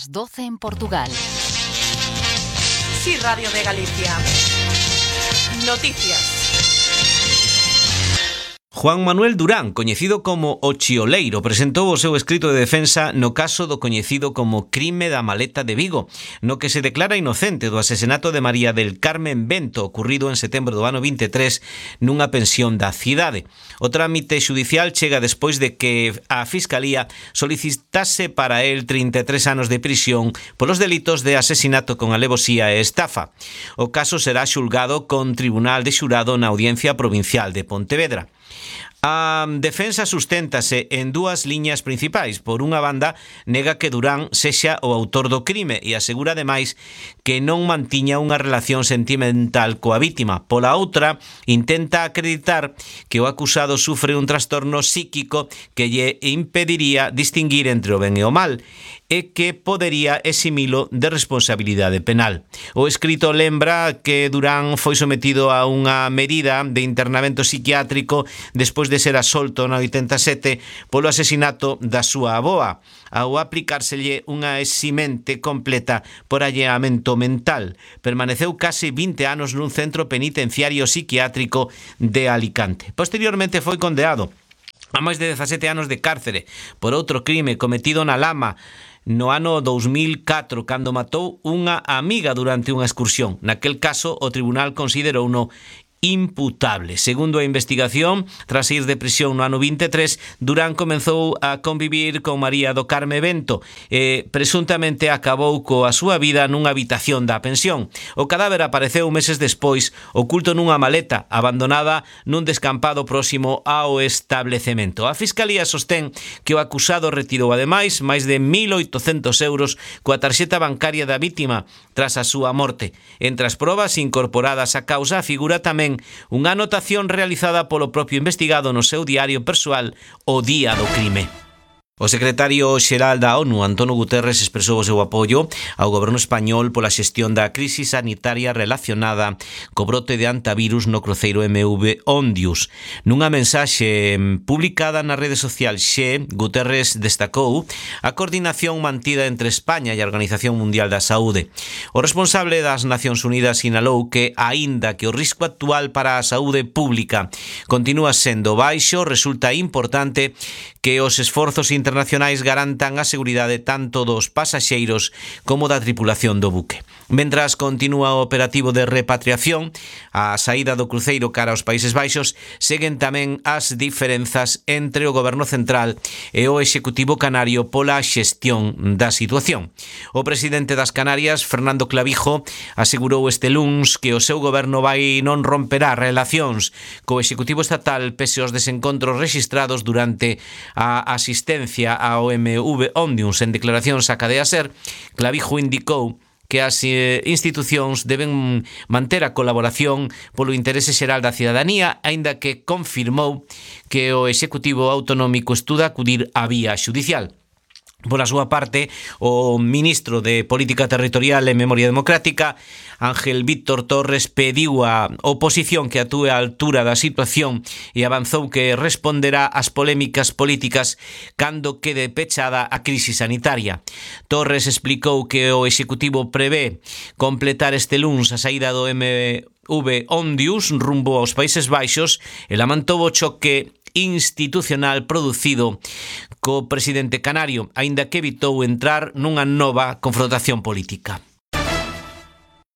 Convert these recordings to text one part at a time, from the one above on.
las 12 en Portugal. Sí, Radio de Galicia. Noticias. Juan Manuel Durán, coñecido como o Chioleiro, presentou o seu escrito de defensa no caso do coñecido como crime da maleta de Vigo, no que se declara inocente do asesinato de María del Carmen Bento, ocurrido en setembro do ano 23 nunha pensión da cidade. O trámite xudicial chega despois de que a Fiscalía solicitase para el 33 anos de prisión polos delitos de asesinato con alevosía e estafa. O caso será xulgado con tribunal de xurado na Audiencia Provincial de Pontevedra. A defensa susténtase en dúas liñas principais. Por unha banda, nega que Durán sexa o autor do crime e asegura ademais que non mantiña unha relación sentimental coa vítima. Pola outra, intenta acreditar que o acusado sufre un trastorno psíquico que lle impediría distinguir entre o ben e o mal e que podería eximilo de responsabilidade penal. O escrito lembra que Durán foi sometido a unha medida de internamento psiquiátrico despois de ser asolto na 87 polo asesinato da súa avoa, ao aplicárselle unha eximente completa por alleamento mental. Permaneceu case 20 anos nun centro penitenciario psiquiátrico de Alicante. Posteriormente foi condenado a máis de 17 anos de cárcere por outro crime cometido na Lama no ano 2004, cando matou unha amiga durante unha excursión. Naquel caso, o tribunal considerouno imputable. Segundo a investigación, tras ir de prisión no ano 23, Durán comenzou a convivir con María do Carme Bento e presuntamente acabou coa súa vida nunha habitación da pensión. O cadáver apareceu meses despois, oculto nunha maleta, abandonada nun descampado próximo ao establecemento. A Fiscalía sostén que o acusado retirou ademais máis de 1.800 euros coa tarxeta bancaria da vítima tras a súa morte. Entre as probas incorporadas á causa figura tamén unha anotación realizada polo propio investigado no seu diario persoal o día do crime. O secretario xeral da ONU, António Guterres, expresou o seu apoio ao goberno español pola xestión da crise sanitaria relacionada co brote de antivirus no cruceiro MV Ondius. Nunha mensaxe publicada na rede social Xe, Guterres destacou a coordinación mantida entre España e a Organización Mundial da Saúde. O responsable das Nacións Unidas sinalou que, aínda que o risco actual para a saúde pública continúa sendo baixo, resulta importante que os esforzos internacionais garantan a seguridade tanto dos pasaxeiros como da tripulación do buque. Mentras continúa o operativo de repatriación, a saída do cruceiro cara aos Países Baixos, seguen tamén as diferenzas entre o goberno central e o executivo canario pola xestión da situación. O presidente das Canarias, Fernando Clavijo, asegurou este luns que o seu goberno non romperá relacións co executivo estatal pese aos desencontros rexistrados durante a asistencia ao MV Ondius. En declaracións á cadea SER, Clavijo indicou que as institucións deben manter a colaboración polo interese xeral da cidadanía, aínda que confirmou que o Executivo Autonómico estuda acudir á vía xudicial. Pola súa parte, o ministro de Política Territorial e Memoria Democrática, Ángel Víctor Torres, pediu á oposición que actúe á altura da situación e avanzou que responderá ás polémicas políticas cando quede pechada a crise sanitaria. Torres explicou que o Executivo prevé completar este luns a saída do MV Ondius rumbo aos Países Baixos e lamentou o choque institucional producido co presidente canario, aínda que evitou entrar nunha nova confrontación política.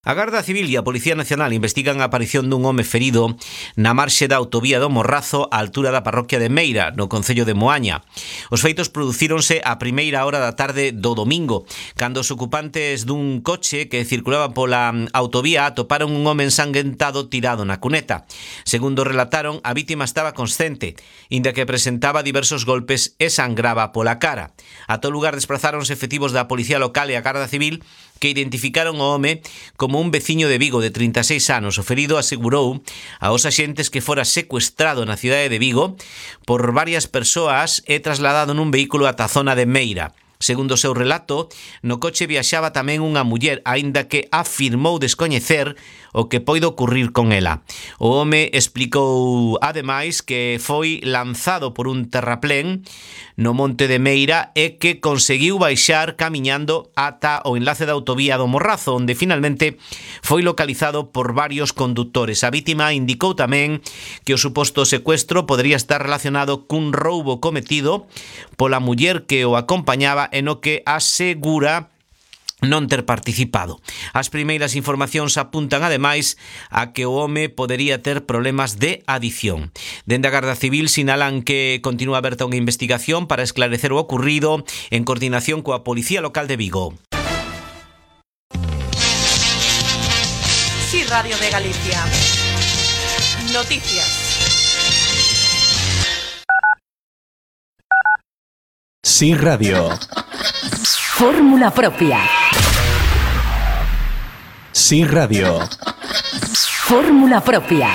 A Garda Civil e a Policía Nacional investigan a aparición dun home ferido na marxe da autovía do Morrazo á altura da parroquia de Meira, no concello de Moaña. Os feitos producíronse a primeira hora da tarde do domingo, cando os ocupantes dun coche que circulaba pola autovía atoparon un home ensanguentado tirado na cuneta. Segundo relataron, a vítima estaba consciente, inda que presentaba diversos golpes e sangraba pola cara. A todo lugar desprazáronse efectivos da Policía Local e a Garda Civil, que identificaron o home como un veciño de Vigo de 36 anos. O ferido asegurou aos axentes que fora secuestrado na cidade de Vigo por varias persoas e trasladado nun vehículo ata a zona de Meira. Segundo o seu relato, no coche viaxaba tamén unha muller, aínda que afirmou descoñecer o que poida ocurrir con ela. O home explicou, ademais, que foi lanzado por un terraplén no Monte de Meira e que conseguiu baixar camiñando ata o enlace da autovía do Morrazo, onde finalmente foi localizado por varios conductores. A vítima indicou tamén que o suposto secuestro podría estar relacionado cun roubo cometido pola muller que o acompañaba e no que asegura non ter participado. As primeiras informacións apuntan ademais a que o home podería ter problemas de adicción. Dende a Garda Civil sinalan que continúa aberta unha investigación para esclarecer o ocurrido en coordinación coa Policía Local de Vigo. Sí, Radio de Galicia. Noticias. Sí, Radio. Fórmula propia. Sí, Radio. Fórmula propia.